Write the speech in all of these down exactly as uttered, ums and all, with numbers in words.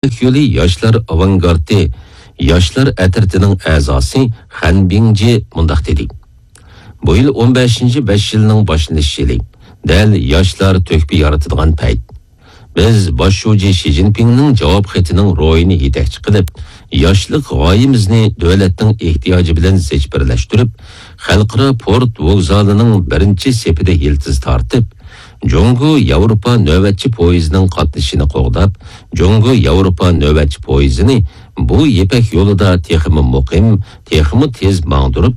يولى ياشلار ئاۋانگارتى ياشلار ئەترىتىنىڭ ئەزاسى خەن بىڭجى مۇنداق دېدى: بۇ يىل ئون بەشىنچى بەش يىلنىڭ باشلىنىش يىلى، دەل ياشلار تۆھپە يارىتىدىغان پەيت. بىز باش شۇجى شى جىنپىڭنىڭ جاۋاب خېتىنىڭ روھىنى يېتەكچى قىلىپ، ياشلىق غايىمىزنى دۆلەتنىڭ ئېھتىياجى بىلەن زىچ بىرلەشتۈرۈپ، خەلقئارا پورت ۋوگزالىنىڭ بىرىنچى سېپىدە يىلتىز تارتىپ، جۇڭگو ياۋروپا نۆۋەتچى پويىزىنىڭ قاتنىشىشىنى قوغداپ، جۇڭگو ياۋروپا نۆۋەتچى پويىزىنى بۇ يىپەك يولىدا تېخىمۇ مۇقىم، تېخىمۇ تېز ماڭدۇرۇپ،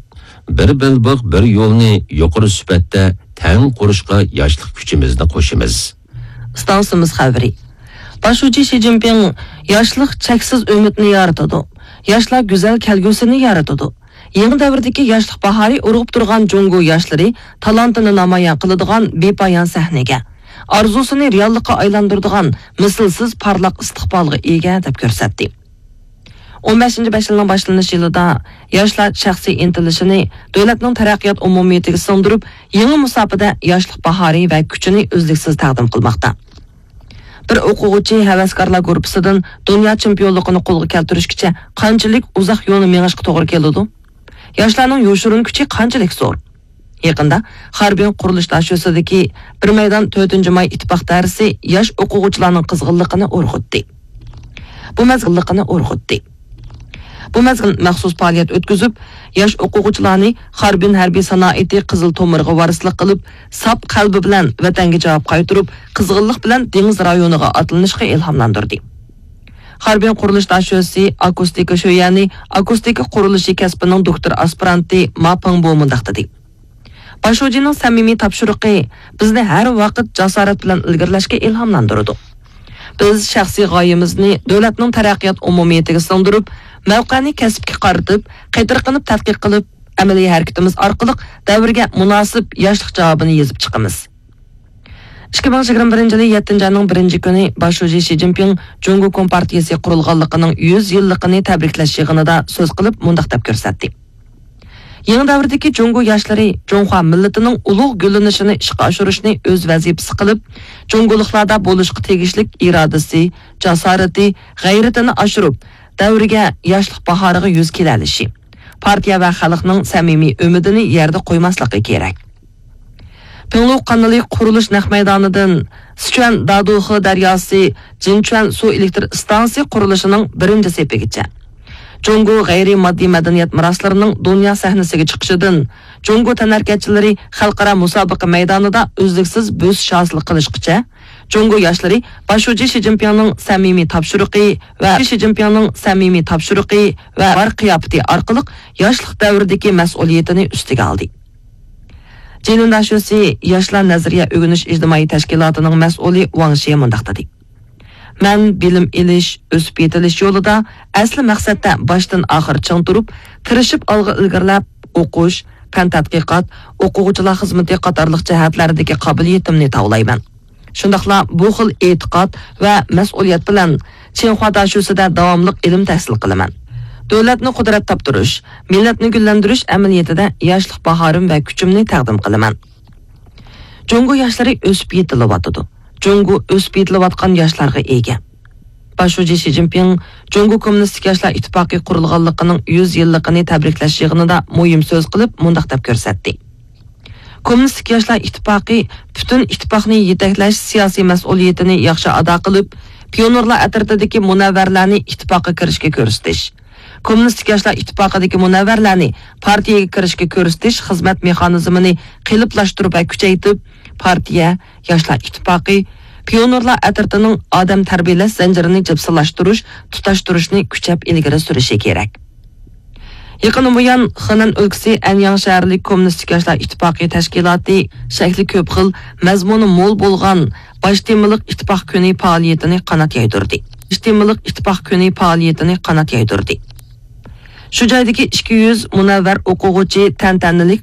بىر بەلباغ بىر يولنى يۇقىرى سۈپەتتە تەڭ قۇرۇشقا ياشلىق كۈچىمىزنى قوشىمىز. ئىستانسىمىز خەۋىرى. باش شۇجى شى جىنپىڭ: ياشلىق چەكسىز ئۈمىدنى يارىتىدۇ. ياشلار گۈزەل كەلگۈسىنى يارىتىدۇ. يېڭى دەۋردىكى ياشلىق باھارى ئۇرغۇپ تۇرغان جۇڭگو ياشلىرى تالانتىنى نامايان قىلىدىغان بىپايان سەھنىگە، ئارزۇسىنى رېئاللىققا ئايلاندۇرىدىغان مىسلىسىز پارلاق ئىستىقبالغا ئىگە، دەپ كۆرسەتتى. ئون بەشىنچى بەش يىلنىڭ باشلىنىش يىلىدا ياشلار شەخسىي ئىنتىلىشىنى دۆلەتنىڭ تەرەققىيات ئومۇمىيىتىگە سىڭدۈرۈپ، يېڭى مۇساپىدە ياشلىق باھارى ۋە كۈچىنى ئۈزلۈكسىز تەقدىم قىلماقتا. بىر ئوقۇغۇچى ھەۋەسكارلار گۇرۇپپىسىدىن دۇنيا چېمپىيونلۇقىنى قولغا كەلتۈرۈشكىچە قانچىلىك ئۇزاق يولنى مېڭىشقا توغرا كېلىدۇ؟ ياشلارنىڭ يوشۇرۇن كۈچى قانچىلىك زور؟ يېقىندا خاربىن قۇرۇلۇش داشۆسىدىكى بىر مەيدان تۆتىنچى ماي ئىتتىپاق دائىرىسى ياش ئوقۇغۇچىلارنىڭ قىزغىنلىقىنى ئۇرغۇتتى. بۇ مەزگىللىقىنى ئۇرغۇتتى. بۇ مەزگىل مەخسۇس پائالىيەت ئۆتكۈزۈپ، ياش ئوقۇغۇچىلارنى خاربىن ھەربىي سانائىتى قىزىل تومۇرىغا ۋارىسلىق قىلىپ، ساپ قەلبى بىلەن ۋەتەنگە جاۋاب قايتۇرۇپ، قىزغىنلىق بىلەن دېڭىز رايونىغا ئاتلىنىشقا ئىلھاملاندۇردى. خاربىن قۇرۇلۇش داشۆسى ئاكۇستىكا شۆيەنى ئاكۇستىكا قۇرۇلۇشى كەسپىنىڭ دوكتور ئاسپىرانتى ما پېڭبو مۇنداق دېدى: باش شۇجىنىڭ سەمىمىي تاپشۇرۇقى بىزنى ھەر ۋاقىت جاسارەت بىلەن ئىلگىرىلەشكە ئىلھاملاندۇرىدۇ. بىز شەخسىي غايىمىزنى دۆلەتنىڭ تەرەققىيات ئومۇمىيىتىگە سىڭدۈرۈپ، مەۋقەنى كەسىپكە قارىتىپ، قېتىرقىنىپ تەتقىق قىلىپ، ئەمەلىي ھەرىكىتىمىز ئارقىلىق دەۋرگە مۇناسىپ ياشلىق جاۋابىنى يېزىپ چىقىمىز. ئىككى مىڭ يىگىرمە بىرىنچى يىلى يەتتىنچى ئاينىڭ بىرىنچى كۈنى باش شۇجى شى جىنپىڭ جۇڭگو كومپارتىيىسى قۇرۇلغانلىقىنىڭ يۈز يىللىقىنى تەبرىكلەش يىغىنىدا سۆز قىلىپ مۇنداق دەپ كۆرسەتتى: يېڭى دەۋردىكى جۇڭگو ياشلىرى جۇڭخۇا مىللىتىنىڭ ئۇلۇغ گۈللىنىشىنى ئىشقا ئاشۇرۇشنى ئۆز ۋەزىپىسى قىلىپ، جۇڭگولۇقلاردا بولۇشقا تېگىشلىك ئىرادىسى، جاسارىتى، غەيرىتىنى ئاشۇرۇپ، دەۋرگە، ياشلىق باھارىغا يۈز كېلەلىشى، پارتىيە ۋە خەلقنىڭ سەمىمىي ئۈمىدىنى يەردە قويماسلىقى كېرەك. پىڭلۇ قانىلى قۇرۇلۇش نەق مەيدانىدىن سىچۈەن دادۇخې دەرياسى جىنچۈەن سۇ ئېلېكتر ئىستانسىسى قۇرۇلۇشىنىڭ بىرىنچى سېپىگىچە، جۇڭگو غەيرىي ماددىي مەدەنىيەت مىراسلىرىنىڭ دۇنيا سەھنىسىگە چىقىشىدىن، جۇڭگو تەنھەرىكەتچىلىرى خەلقئارا مۇسابىقە مەيدانىدا ئۈزلۈكسىز بۆسۈش ھاسىل قىلىشقىچە، جۇڭگو ياشلىرى باش شۇجى شى جىنپىڭنىڭ سەمىمىي تاپشۇرۇقى ۋە شى جىنپىڭنىڭ سەمىمىي تاپشۇرۇقى ۋە بار قىياپىتى ئارقىلىق ياشلىق دەۋرىدىكى مەسئۇلىيىتىنى ئۈستىگە ئالدى. جىنىن داشۆسى ياشلار نەزەرىيە ئۆگىنىش ئىجتىمائىي تەشكىلاتىنىڭ مەسئۇلى ۋاڭ شى مۇنداق دېدى: مەن بىلىم ئېلىش، ئۆسۈپ يېتىلىش يولىدا ئەسلى مەقسەتتە باشتىن ئاخىر چىڭ تۇرۇپ، تىرىشىپ ئالغا ئىلگىرىلەپ ئوقۇش، پەن تەتقىقات، ئوقۇغۇچىلار خىزمىتى قاتارلىق جەھەتلەردىكى قابىلىيىتىمنى تاۋلايمەن. شۇنداقلا بۇ خىل ئېتىقاد ۋە مەسئۇلىيەت بىلەن چىڭخۇا داشۆسىدە داۋاملىق ئىلىم تەھسىل قىلىمەن. دۆلەتنى قۇدرەت تاپتۇرۇش، مىللەتنى گۈللەندۈرۈش ئەمەلىيىتىدە ياشلىق باھارىم ۋە كۈچۈمنى تەقدىم قىلىمەن. جۇڭگو ياشلىرى ئۆسۈپ يېتىلىۋاتىدۇ. جۇڭگو ئۆسۈپ يېتىلىۋاتقان ياشلارغا ئىگە. باش شۇجى شى جىنپىڭ جۇڭگو كوممۇنىستىك ياشلار ئىتتىپاقى قۇرۇلغانلىقىنىڭ يۈز يىللىقىنى تەبرىكلەش يىغىنىدا مۇھىم سۆز قىلىپ مۇنداق دەپ كۆرسەتتى: كوممۇنىستىك ياشلار ئىتتىپاقى پۈتۈن ئىتتىپاقنى يېتەكلەش سىياسىي مەسئۇلىيىتىنى ياخشى ئادا قىلىپ، پىيونېرلار ئەترىتىدىكى مۇنەۋۋەرلەرنى ئىتتىپاققا كىرىشكە كۆرسىتىش، كوممۇنىستىك ياشلار ئىتتىپاقىدىكى مۇنەۋۋەرلەرنى پارتىيەگە كىرىشكە كۆرسىتىش خىزمەت مېخانىزمىنى قېلىپلاشتۇرۇپ ۋە كۈچەيتىپ، پارتىيە، ياشلار ئىتتىپاقى، پىيونېرلار ئەترىتىنىڭ ئادەم تەربىيەلەش زەنجىرىنى جىپسىلاشتۇرۇش، تۇتاشتۇرۇشنى كۈچەپ ئىلگىرى سۈرۈشى كېرەك. يېقىندىن بۇيان، خېنەن ئۆلكىسى ئەنياڭ شەھەرلىك كوممۇنىستىك ياشلار ئىتتىپاقى تەشكىلاتى شەكلى كۆپ خىل، مەزمۇنى مول بولغان باش تېمىلىق ئىتتىپاق كۈنى پائالىيىتىنى قانات يايدۇردى. باش تېمىلىق ئىتتىپاق كۈنى پائالىيىتىنى قانات يايدۇردى. شۇ جايدىكى ئىككى يۈز مۇنەۋۋەر ئوقۇغۇچى تەنتەنىلىك